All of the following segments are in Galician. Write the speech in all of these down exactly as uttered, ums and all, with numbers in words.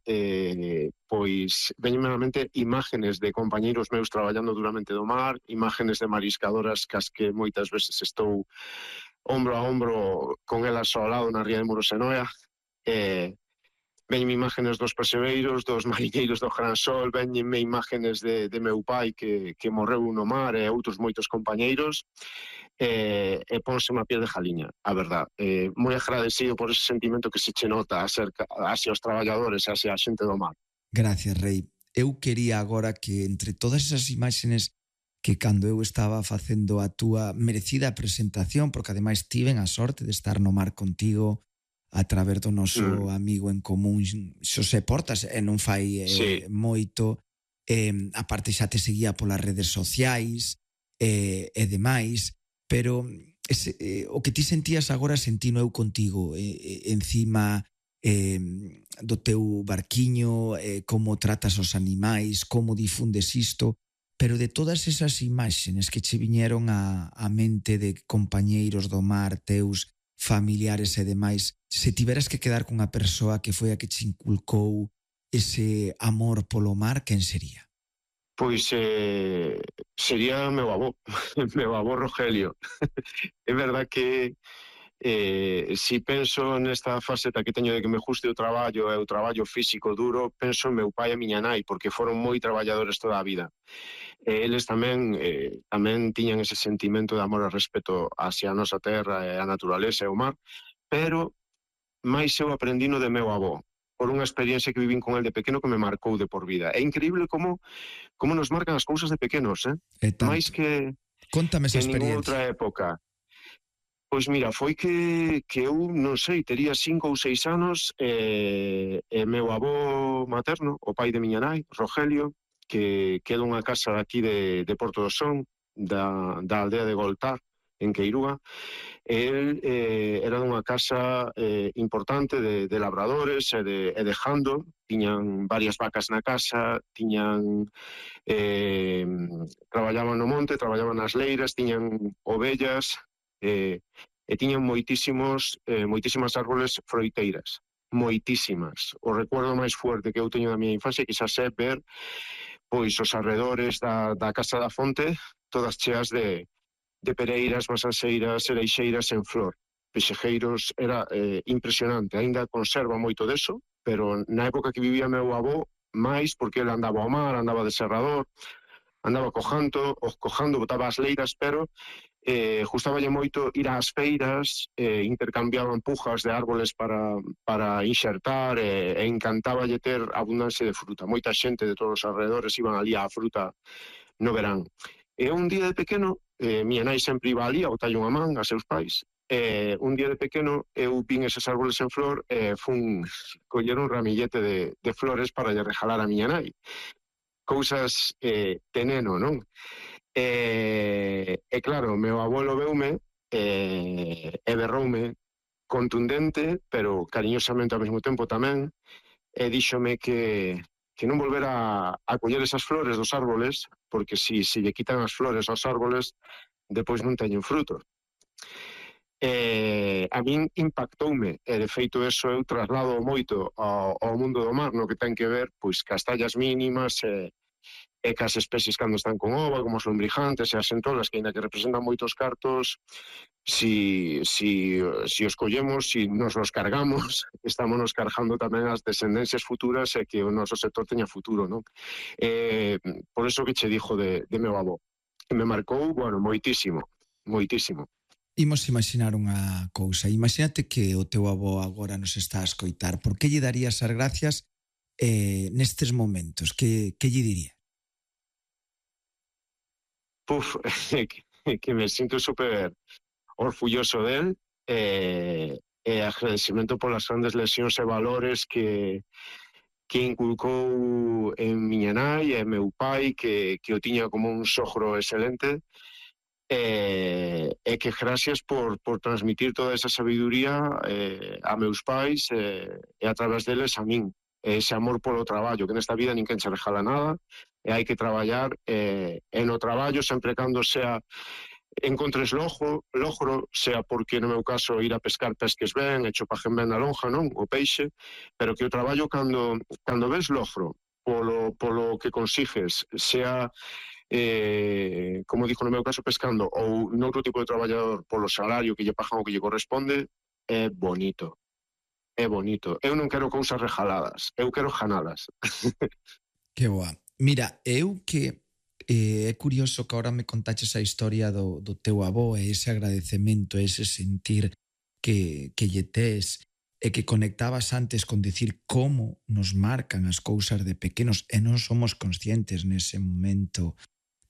eh, pois veñenme na mente imágenes de compañeiros meus traballando duramente do mar, imágenes de mariscadoras cas que moitas veces estou ombro a ombro con elas ao lado na ría de Murosenoia, e veñenme imágenes dos percebeiros, dos mariñeiros do Gran Sol, veñenme imágenes de, de meu pai que, que morreu no mar e outros moitos compañeiros, e, e ponse má piel de jaliña, a verdad. Eh, moi agradecido por ese sentimento que se che nota acerca, hacia os traballadores, hacia a xente do mar. Gracias, Rei. Eu quería agora que entre todas esas imaxenes que cando eu estaba facendo a túa merecida presentación, porque ademais tiven a sorte de estar no mar contigo a través do noso mm. amigo en común Xosé Portas, e non fai eh, sí. moito, eh, a parte xa te seguía polas redes sociais eh, e demais, pero ese, eh, o que ti sentías agora sentino eu contigo, eh, encima eh, do teu barquiño, eh, como tratas os animais, como difundes isto, pero de todas esas imaxenes que che viñeron a, a mente de compañeiros do mar, teus familiares e demais, se tiveras que quedar cunha persoa que foi a que che inculcou ese amor polo mar, quen sería? Pois eh, sería meu avó, meu avó Rogelio. É verdad que eh, si penso nesta faceta que teño de que me guste o traballo e o traballo físico duro, penso en meu pai e miña nai, porque foron moi traballadores toda a vida. E eles tamén eh, tamén tiñan ese sentimento de amor e respeto hacia a nosa terra e a naturaleza e o mar, pero máis eu aprendino de meu avó, por unha experiencia que vivín con el de pequeno que me marcou de por vida. É increíble como como nos marcan as cousas de pequenos, eh? Máis que, Contame esa que en ninguna outra experiencia. época. Pois mira, foi que, que eu, non sei, tería cinco ou seis anos e, e meu avó materno, o pai de miña nai, Rogelio, que queda unha casa aquí de, de Porto do Son, da, da aldea de Goltar, en Queirúa. El eh, era dunha casa eh, importante de, de labradores e de, e de jando, tiñan varias vacas na casa, tiñan eh, traballaban no monte, traballaban nas leiras, tiñan ovellas, eh, e tiñan moitísimos, eh, moitísimas árboles froiteiras, moitísimas. O recuerdo máis fuerte que eu teño da miña infancia quizás é ver pois os arredores da, da Casa da Fonte todas cheas de, de pereiras, masanseiras, ereixeiras en flor. Pexejeiros, era eh, impresionante, aínda conserva moito deso, pero na época que vivía meu avó, máis porque ele andaba ao mar, andaba de serrador, andaba cojando, cojando, botaba as leiras, pero eh, gustaballe moito ir ás feiras, eh, intercambiaban pujas de árboles para, para inxertar, e, e encantaballe ter abundancia de fruta. Moita xente de todos os alrededores iban ali á fruta no verán. E un día de pequeno, eh, miña nai sempre iba ali a botalle unha man a seus pais, e un día de pequeno eu vin eses árboles en flor e fun coller un ramillete de, de flores para lle regalar a miña nai. Cousas eh, de neno, non? E, e claro, meu abuelo veume e, e berroume contundente, pero cariñosamente ao mesmo tempo tamén, e díxome que, que non volvera a, a coller esas flores dos árboles, porque si se lle quitan as flores aos árboles, depois non teñen fruto. E a min impactoume, e de feito eso eu traslado moito ao, ao mundo do mar, no que ten que ver pois cas tallas mínimas e, e cas especies cando están con ova, como os lombrijantes e as centolas, que ainda que representan moitos cartos, si, si, si os collemos, si nos los cargamos, estamos nos cargando tamén as descendencias futuras e que o noso sector teña futuro, non? Eh, por eso que che dixo de, de meu avó, que me marcou, bueno, moitísimo, moitísimo. Imos imaginar unha cousa. Imagínate que o teu avó agora nos está a escoitar. Por que lle darías as gracias eh, nestes momentos? Que, que lle diría? Puf, que, que me sinto super orgulloso del e, e agradecimento polas grandes lesións e valores que que inculcou en miña nai e meu pai, que, que o tiña como un sogro excelente, e, e que gracias por, por transmitir toda esa sabiduría eh, a meus pais eh, e a través deles a min, ese amor polo traballo, que nesta vida ninguén se regala nada, e hai que traballar eh, e no traballo sempre cando sea encontres lojo, logro, sea porque no meu caso ir a pescar pesques ben, e chopajen ben na lonja, non? O peixe, pero que o traballo cando, cando ves logro polo, polo que consigues, sea, eh, como dixo no meu caso, pescando, ou noutro tipo de traballador polo salario que lle pagan o que lle corresponde, é bonito. É bonito. Eu non quero cousas regaladas, eu quero janadas. Que boa. Mira, eu que eh, é curioso que ahora me contaches a historia do, do teu avó e ese agradecemento, ese sentir que, que lle tes e que conectabas antes con decir como nos marcan as cousas de pequenos e non somos conscientes nese momento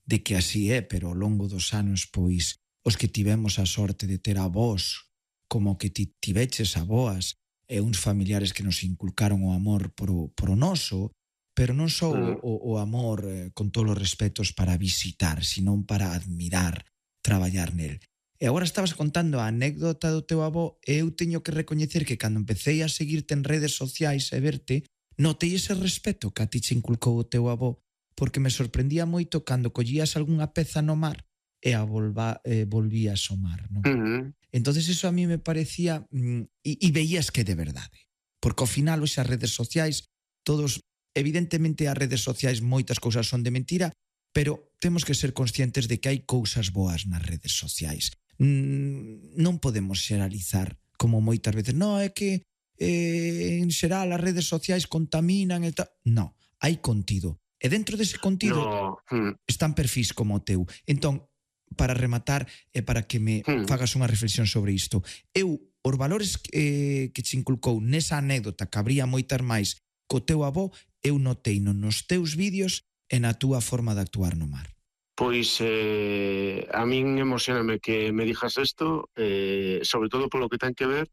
de que así é, pero ao longo dos anos, pois, os que tivemos a sorte de ter avós como que ti tiveches aboas e uns familiares que nos inculcaron o amor por o, por o noso, pero non só o, o, o amor eh, con todos os respetos para visitar, senón para admirar, traballar nel. E agora estabas contando a anécdota do teu avó e eu teño que recoñecer que cando empecé a seguirte en redes sociais e verte, notei ese respeto que a ti che inculcou o teu avó, porque me sorprendía moito cando collías algunha peza no mar e a volva, eh, volvías ao mar, non? Uh-huh. Entonces eso a mí me parecía mm, e, e veías que de verdade, porque ao final hoxe as redes sociais todos, evidentemente as redes sociais moitas cousas son de mentira, pero temos que ser conscientes de que hai cousas boas nas redes sociais. Mm, non podemos xeralizar como moitas veces, no, é que eh, en xeral as redes sociais contaminan e tal. No, hai contido. E dentro dese contido no. hmm. están perfis como o teu. Entón, para rematar e para que me hmm. fagas unha reflexión sobre isto, eu, os valores que, que che inculcou nesa anécdota que habría moitas máis co teu avó, eu notei nos teus vídeos e na túa forma de actuar no mar. Pois eh, a min emocioname que me dijas isto, eh, sobre todo polo que ten que ver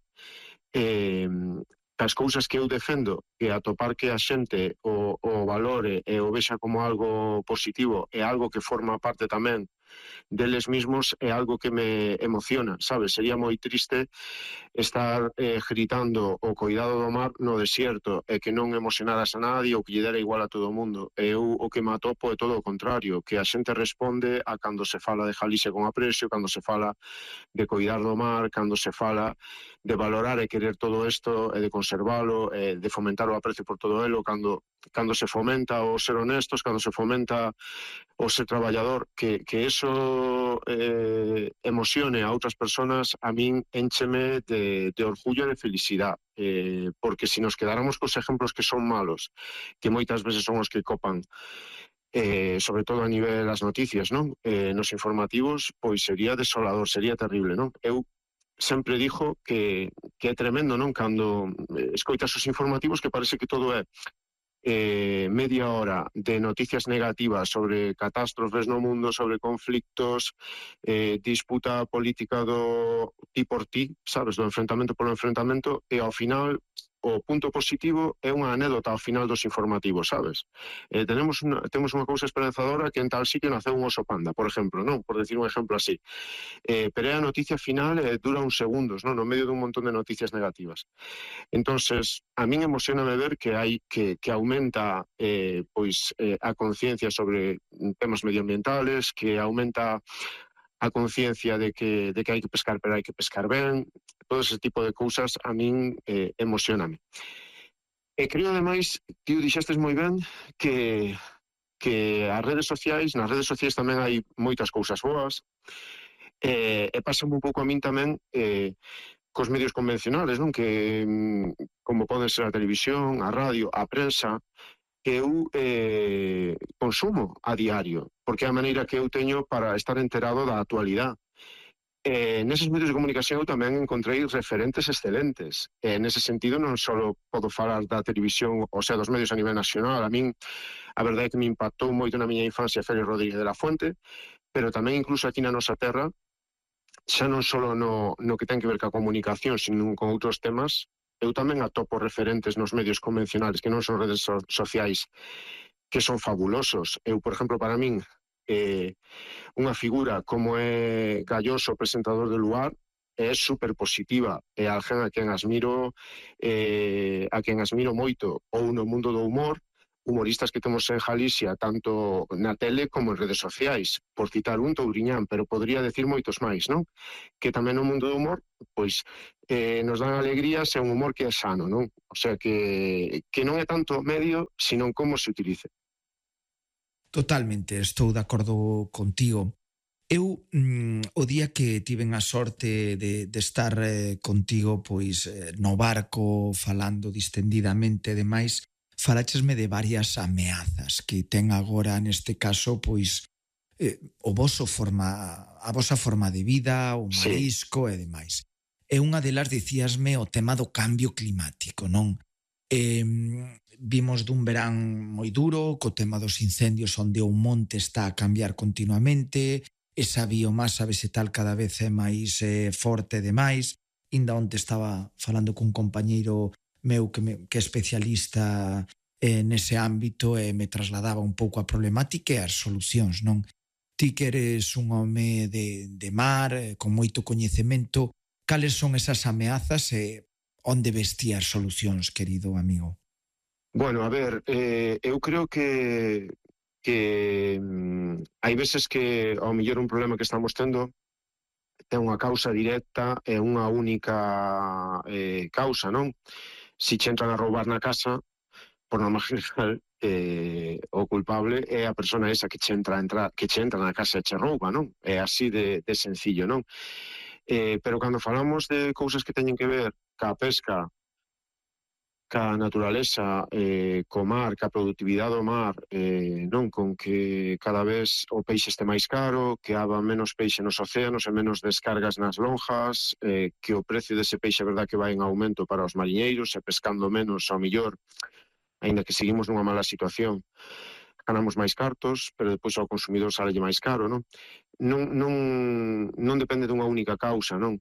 eh, as cousas que eu defendo, que atopar que a xente o, o valore e o vexa como algo positivo e algo que forma parte tamén deles mismos, é algo que me emociona, sabes? Sería moi triste estar eh, gritando o cuidado do mar no desierto e que non emocionaras a nadie ou que lle dera igual a todo o mundo. E eu o que me atopo é todo o contrario, que a xente responde a cando se fala de Galicia con aprecio, cando se fala de cuidar do mar, cando se fala de valorar e querer todo isto e de conservalo, e de fomentar o aprecio por todo elo, cando, cando se fomenta o ser honestos, cando se fomenta o ser traballador, que, que eso eh, emocione a outras personas, a min encheme de, de orgullo e de felicidade, eh, porque se nos quedáramos cos exemplos que son malos, que moitas veces son os que copan, eh, sobre todo a nivel das noticias, non? Eh, nos informativos, pois sería desolador, sería terrible, non? Eu sempre dixo que, que é tremendo, non? Cando escoitas os informativos que parece que todo é Eh, media hora de noticias negativas sobre catástrofes no mundo, sobre conflictos, eh, disputa política do ti por ti, sabes, do enfrentamento polo enfrentamento, e ao final o punto positivo é unha anécdota ao final dos informativos, sabes? Eh, tenemos una, temos unha cousa esperanzadora que en tal sitio naceu un oso panda, por exemplo, non? Por decir un exemplo así. Eh, pero é a noticia final e eh, dura uns segundos, non? No medio dun montón de noticias negativas. Entonces, a min emocioname ver que hai que, que aumenta eh, pois eh, a conciencia sobre temas medioambientales, que aumenta a conciencia de que, de que hai que pescar, pero hai que pescar ben, todo ese tipo de cousas a min eh, emocioname. E creo, ademais, que o dixestes moi ben, que, que as redes sociais, nas redes sociais tamén hai moitas cousas boas, e, e pasa un pouco a min tamén eh, cos medios convencionales, non? Que como pode ser a televisión, a radio, a prensa, que eu eh, consumo a diario, porque é a maneira que eu teño para estar enterado da actualidade. Eh, neses medios de comunicación eu tamén encontrei referentes excelentes. E nese sentido non só podo falar da televisión, ou sea, dos medios a nivel nacional. A min, a verdade é que me impactou moito na miña infancia Félix Rodríguez de la Fuente, pero tamén incluso aquí na nosa terra, xa non só no, no que ten que ver ca comunicación, sino con outros temas, eu tamén atopo referentes nos medios convencionales, que non son redes so sociais, que son fabulosos. Eu, por exemplo, para min, eh, unha figura como é Galloso, presentador de Luar, é super positiva, é alguén a quen admiro, eh, a quen admiro moito, ou no mundo do humor, humoristas que temos en Galicia, tanto na tele como en redes sociais, por citar un, Touriñán, pero podría decir moitos máis, non? Que tamén no mundo do humor, pois, eh, nos dan alegrías e un humor que é sano, non? O sea, que, que non é tanto o medio, sino como se utilice. Totalmente, estou de acordo contigo. Eu, mm, o día que tiven a sorte de, de estar eh, contigo pois eh, no barco falando distendidamente e demais, faláchesme de varias ameazas que ten agora neste caso pois eh, o voso forma, a vosa forma de vida, o Sí, marisco e demais. E unha delas dicíasme o tema do cambio climático, non? Eh, vimos dun verán moi duro co tema dos incendios onde o monte está a cambiar continuamente, esa biomasa vegetal cada vez é máis eh, forte e demais. Inda onte estaba falando cun compañeiro meu que, me, que é especialista eh, nese ámbito e me trasladaba un pouco a problemática e as solucións, non? Ti que eres un home de, de mar, eh, con moito coñecemento, cales son esas ameazas e onde ves ti as solucións, querido amigo? bueno, a ver, eh, eu creo que que mm, hai veces que ao mellor un problema que estamos tendo ten unha causa directa e unha única eh, causa, non? Si che entran a roubar na casa, por norma general, eh, o culpable é a persona esa que che entra, a entrar, que che entra na casa e che rouba, non? É así de, de sencillo, non? Eh, pero cando falamos de cousas que teñen que ver ca pesca, ca naturaleza, eh, co mar, ca productividade do mar, eh, non, con que cada vez o peixe este máis caro, que haba menos peixe nos océanos e menos descargas nas lonjas, eh, que o precio dese peixe é verdad que vai en aumento para os mariñeiros e pescando menos ao millor, aínda que seguimos nunha mala situación, ganamos máis cartos, pero depois ao consumidor salelle máis caro, non? Non, non, non depende dunha única causa, non?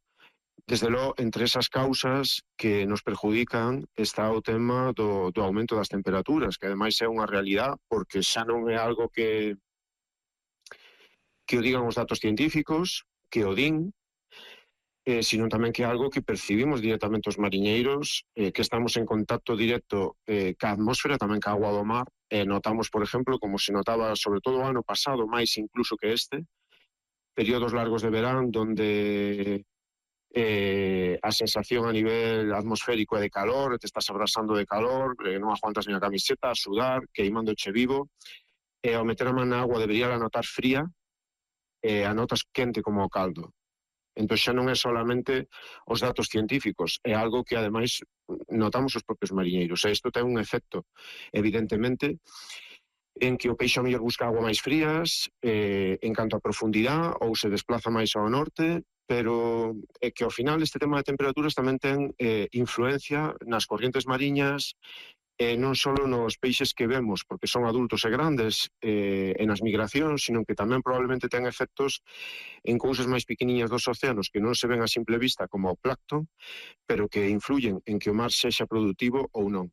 Desde logo, entre esas causas que nos perjudican está o tema do, do aumento das temperaturas, que ademais é unha realidad, porque xa non é algo que, que o digan os datos científicos, que o din, eh, sino tamén que é algo que percibimos directamente os mariñeiros, eh, que estamos en contacto directo eh, ca atmósfera, tamén ca agua do mar, e eh, notamos, por exemplo, como se notaba sobre todo o ano pasado, máis incluso que este, períodos largos de verán, donde eh, a sensación a nivel atmosférico é de calor, te estás abrasando de calor, eh, non aguantas nin a camiseta, a sudar, queimándoche vivo, e ao meter a man na agua debería a notar fría, e a notas quente como o caldo. Entón xa non é solamente os datos científicos, é algo que ademais notamos os propios mariñeiros, e isto ten un efecto, evidentemente, en que o peixe ao mellor busca agua máis frías, eh, en canto a profundidade, ou se desplaza máis ao norte, pero é que ao final este tema de temperaturas tamén ten eh, influencia nas corrientes mariñas, e non só nos peixes que vemos, porque son adultos e grandes, eh, en as migracións, sino que tamén probablemente ten efectos en cousas máis pequeniñas dos océanos que non se ven a simple vista como o plancton, pero que influyen en que o mar sexa productivo ou non.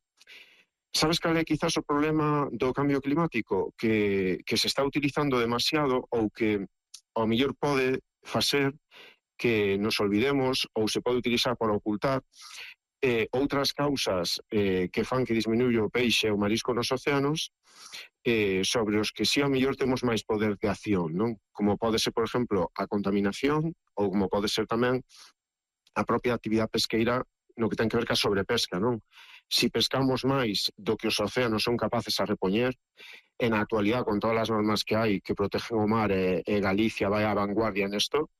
Sabes cal é quizás o problema do cambio climático? Que, que se está utilizando demasiado ou que ao mellor pode facer que nos olvidemos ou se pode utilizar para ocultar eh, outras causas eh, que fan que disminuye o peixe e o marisco nos océanos, eh, sobre os que si ao mellor temos máis poder de acción, non? Como pode ser, por exemplo, a contaminación, ou como pode ser tamén a propia actividade pesqueira no que ten que ver ca sobrepesca, non? Si pescamos máis do que os océanos son capaces a repoñer, en a actualidade, con todas as normas que hai que protegen o mar e, e Galicia vai á vanguardia nesto,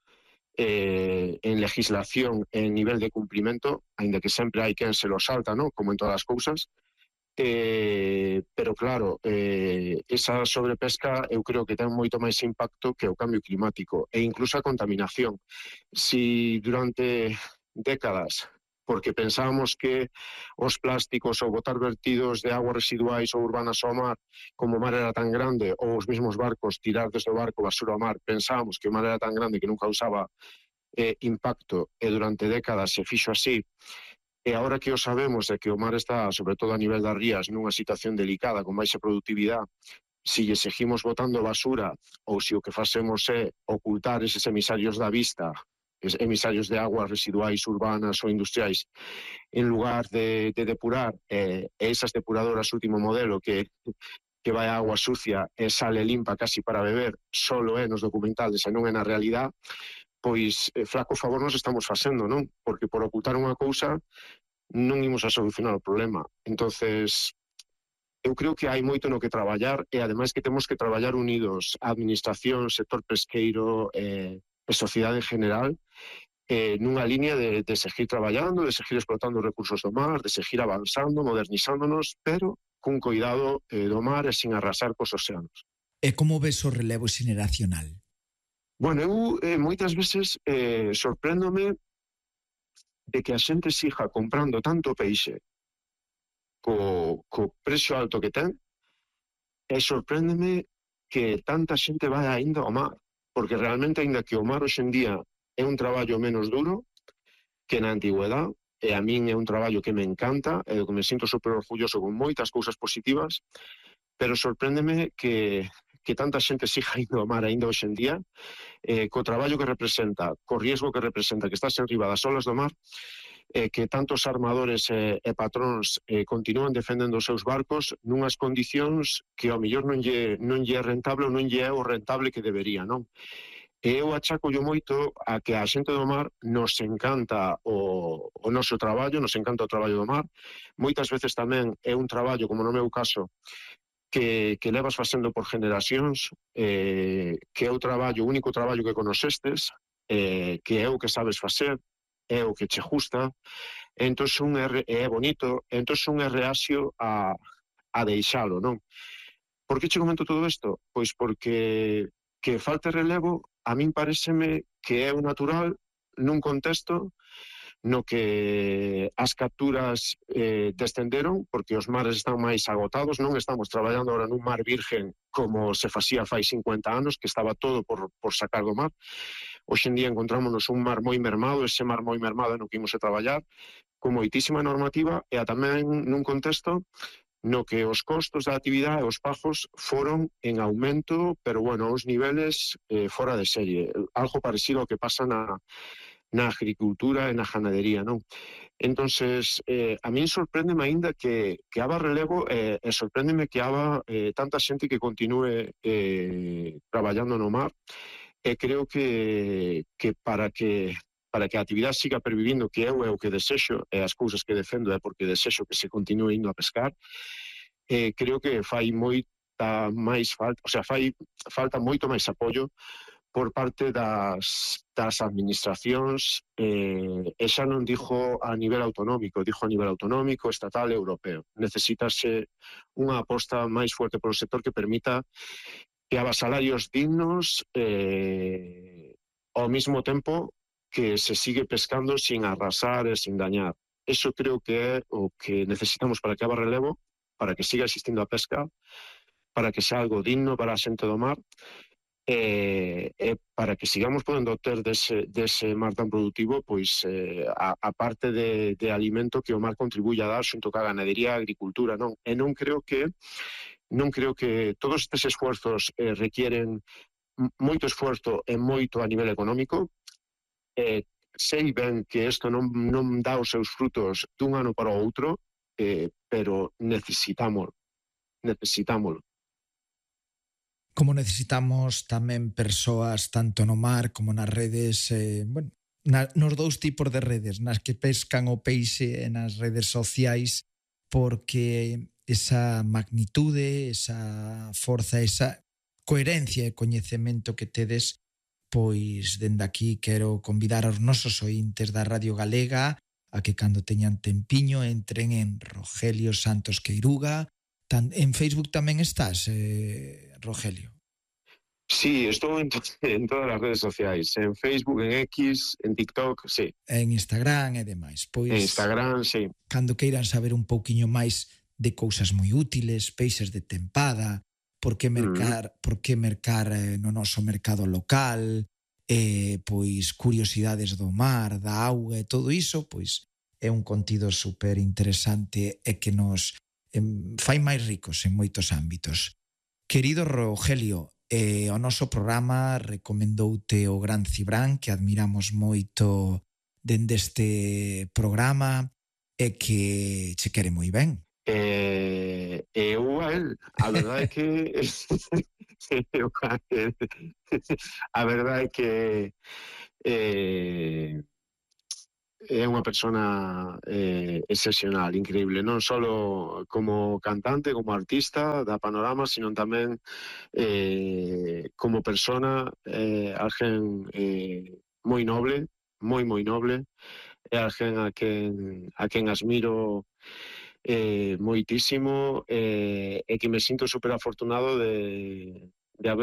Eh, en legislación, en nivel de cumprimento, aínda que sempre hai quen se lo salta, ¿no? Como en todas as cousas, eh, pero claro, eh, esa sobrepesca eu creo que ten moito máis impacto que o cambio climático e incluso a contaminación. Si durante décadas, porque pensábamos que os plásticos ou botar vertidos de aguas residuais ou urbanas ao mar, como o mar era tan grande, ou os mesmos barcos tirar desde o barco basura ao mar, pensábamos que o mar era tan grande que non causaba eh, impacto, e durante décadas se fixo así, e agora que o sabemos de que o mar está, sobre todo a nivel das rías, nunha situación delicada, con baixa productividade, si lle seguimos botando basura ou se o que facemos é ocultar eses emisarios da vista emisarios de aguas residuais urbanas ou industriais, en lugar de, de depurar, eh, esas depuradoras último modelo que, que vai a agua sucia e sale limpa casi para beber, solo é nos documentales e non é na realidade, pois eh, flaco favor nos estamos facendo, non? Porque por ocultar unha cousa non imos a solucionar o problema. Entonces, eu creo que hai moito no que traballar e ademais que temos que traballar unidos a administración, sector pesqueiro eh, e sociedade en general, eh, nunha línea de, de seguir traballando, de seguir explotando os recursos do mar, de seguir avanzando, modernizándonos, pero cun cuidado eh, do mar e sin arrasar cos océanos. E como ves o relevo xeneracional? Bueno, eu eh, moitas veces eh, sorpréndome de que a xente siga comprando tanto peixe co, co precio alto que ten, e sorpréndeme que tanta xente vai ainda ao mar, porque realmente, ainda que o mar hoxe en día é un traballo menos duro que na antigüedade, e a min é un traballo que me encanta, e que me sinto super orgulloso con moitas cousas positivas, pero sorpréndeme que, que tanta xente siga indo ao mar ainda hoxe en día, eh, co traballo que representa, co riesgo que representa, que estás en riba das olas do mar, eh, que tantos armadores e, e patróns eh, continúan defendendo os seus barcos nunhas condicións que ao mellor non lle, non lle é rentable ou non lle é o rentable que debería, non? E eu achaco yo moito a que a xente do mar nos encanta o, o noso traballo, nos encanta o traballo do mar. Moitas veces tamén é un traballo, como no meu caso, que, que levas facendo por generacións, eh, que é o traballo, o único traballo que conosestes, eh, que é o que sabes facer, é o que che gusta, entón un é, é bonito, entón un é reaxio a, a deixalo, non? Por que che comento todo isto? Pois porque que falte relevo, a min pareceme que é o natural nun contexto no que as capturas eh, descenderon, porque os mares están máis agotados, non estamos traballando agora nun mar virgen como se facía fai cincuenta anos, que estaba todo por, por sacar do mar. Hoxe en día encontrámonos un mar moi mermado, ese mar moi mermado no que imos a traballar, con moitísima normativa e a tamén nun contexto no que os costos da actividade e os pagos foron en aumento, pero, bueno, os niveles eh, fora de serie. Algo parecido ao que pasa na, na agricultura e na ganadería, non? Entonces, eh, a min sorpréndeme aínda que, que haba relevo e eh, sorpréndeme que haba eh, tanta xente que continúe eh, traballando no mar, e creo que, que para que para que a actividade siga pervivindo, que eu é o que desexo, e as cousas que defendo é porque desexo que se continue indo a pescar, eh, creo que fai moita máis falta, o sea, fai falta moito máis apoio por parte das, das administracións, eh, e xa non dixo a nivel autonómico, dixo a nivel autonómico, estatal e europeo. Necesitase unha aposta máis fuerte polo sector que permita que haba salarios dignos eh, ao mesmo tempo que se sigue pescando sin arrasar e sin dañar. Eso creo que é o que necesitamos para que haba relevo, para que siga existindo a pesca, para que sea algo digno para a xente do mar, e, e para que sigamos podendo ter dese, dese mar tan productivo, pois eh, a, a parte de, de alimento que o mar contribuye a dar xunto ca ganadería e agricultura, non? E non creo que non creo que todos estes esfuerzos eh, requieren moito esforzo e moito a nivel económico. Eh, sei ben que isto non, non dá os seus frutos dun ano para o outro, eh, pero necesitamos, necesitamos. Como necesitamos tamén persoas tanto no mar como nas redes, eh, bueno, na, nos dous tipos de redes, nas que pescan o peixe e nas redes sociais, porque esa magnitude, esa forza, esa coherencia e coñecemento que tedes, pois dende aquí quero convidar aos nosos ointes da Radio Galega a que cando teñan tempiño entren en Rogelio Santos Queiruga. Tan, en Facebook tamén estás, eh, Rogelio? Sí, estou en, to en todas as redes sociais, en Facebook, en X, en TikTok, sí. En Instagram e demais. Pois, en Instagram, sí. Cando queiran saber un pouquiño máis de cousas moi útiles, peixes de tempada, por que mercar, mm. por que mercar eh, no noso mercado local, eh, pois curiosidades do mar, da auga e todo iso, pois é un contido super interesante e que nos eh, fai máis ricos en moitos ámbitos. Querido Rogelio, e o noso programa recomendoute o Gran Cibrán, que admiramos moito dende este programa e que che quere moi ben. E, e eu a él, a verdade é que eu a él, a verdade é que eh, é unha persona eh, excepcional, increíble, non só como cantante, como artista da Panorama, sino tamén eh, como persona, eh, alguén eh, moi noble, moi moi noble, é alguén a quen, a quen admiro eh, moitísimo eh, e que me sinto super afortunado de,